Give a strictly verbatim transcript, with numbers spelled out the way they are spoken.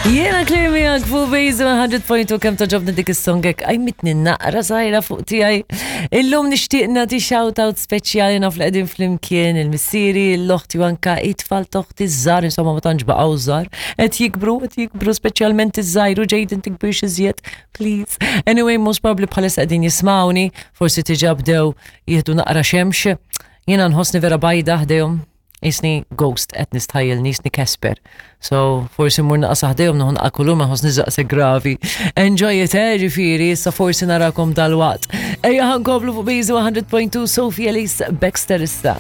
Jiena Claire miegħek fuq Bejzu one hundred point two. Kemm togħġobni dik is-song hekk, qajmitni naqra żgħira fuq tiegħi. Illum nixtieq nagħti shout-out speċjali, naf li qegħdin flimkien il-missieri, l-oħti u anka it-tfal t'oħti żgħar, insomma ma tantx baqgħu żgħar. Qed jikbru, qed jikbru, speċjalment iż-żgħir u Jaden, tikbirx iżjed, please. Anyway, most probably bħalissa qegħdin jismawni, forsi diġà bdew jieħdu naqra xemx. Jiena nħossni vera bajda ħdejhom, jisni ghost, qed nistħajjel jisni Casper. So, forsi mur naqsa ħdejhom, nieħu naqra kulur, ma nħossni daqshekk gravi. Enjoy it, eh, ġifieri, issa forsi narakom dalwaqt. Ejja ħa nkomplu fuq Bizu one hundred point two, Sophie Elise Bextor issa.